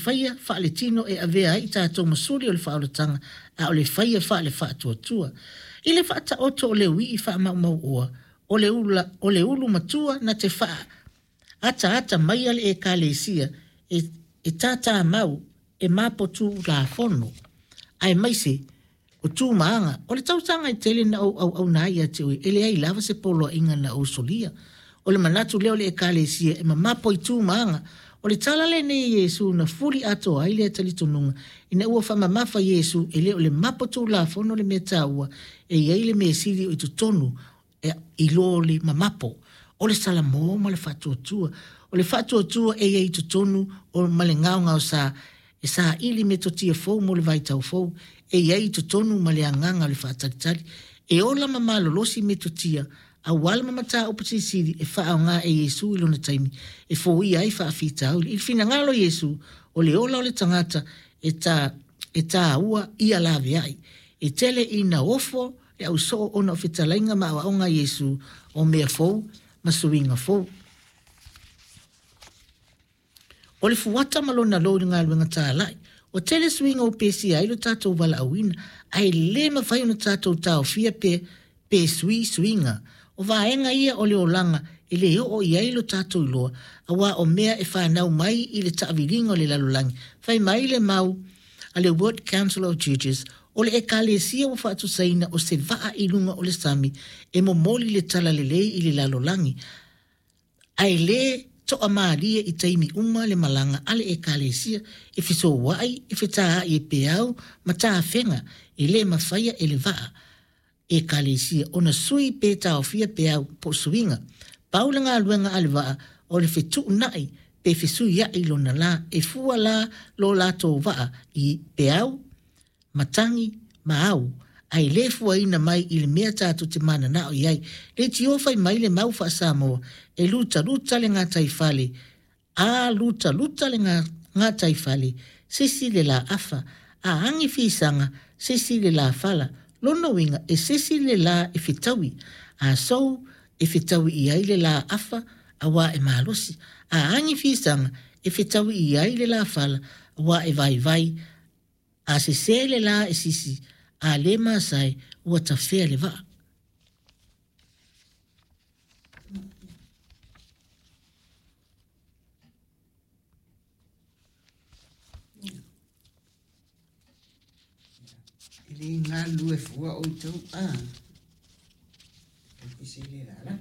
faia faaletino e avea ai i tatou ma suli o le faaolataga, a o le faia faale-faatuatua. I le faataoto o le uii faamaumauoa, o le ula, o le ulu matua na te faaataata maia le Ekalesia e, e tātāmau e mapo tulafono, aemaise o tu ma aga. O le tausaga e tele na ou auauna ai ia te oe, e leai lava se poloaiga na ou solia. O le manatu lea o le Ekalesia e mamapo i tu ma aga. O le tala lenei a Iesu na fuli atoa ai lea talitonuga, ina ua faamamafa Iesu e le o le mapo tulafono le mea taua, e i ai le mea sili o i totonu i lo le mamapo, o le salamo ma le faatuatua. O le faatuatua e i ai i totonu o ma le gaogaosa e saili metotia fou mo le vaitau fou, e i ai i totonu ma le agaga o le faatalitali. E ola ma malolosi metotia auala ma mataupu silisili e faaaoga e Iesu i lona taimi e foia ai faafitauli. I le finagalo o Iesu, o le ola o le tagata e ta, e tāua ia laveai. E tele ina ofo le ausoo ona o fetalaiga ma aoaoga a Iesu o mea fou ma suiga fou. O le fuata ma lona lou i le galuega talai. Ua tele suiga ua pesia ai lo tatou valaauina, ae le mafai ona tatou taofia pe, pe sui suiga. O vaega ia o le olaga e le oo i ai lo tatou iloa, auā o mea e fanau mai i le taaviliga o le lalolagi. Fai mai le mau a le World Council of Churches, o le Ekalesia ua faatusaina o se vaa i luga o le sami e momoli le talalelei i le lalolagi, ae le toamalie i taimi uma le malaga a le Ekalesia e fesouaʻi, e fetaaʻi e peau ma tafega e le mafaia e le vaa Ekalesia ona sui pe taofia peau po o suiga. Pau le galuega a le vaa o le fetuunaʻi pe fesuiaʻi lona lā, e fua la lo latou vaa i peau, matagi ma au, ae le fuaina mai i le mea tatou te mananao i ai. Leitio fai mai le mau faa-Samoa, e lutaluta le gataifale, a lutaluta le gataifale, sisi le lā afa, a agi fisaga, sisi le lā fala. Lona uiga, e sisi le lā e fetaui, a sou e fetaui i ai le lā afa, auā e malosi. A agi fisaga, e fetaui i ai le lā fala, auā e vaivai, a sesē le lā e sisi, a le masae, ua tafea le vaa. E le galulue fua outou a. E pese le lala.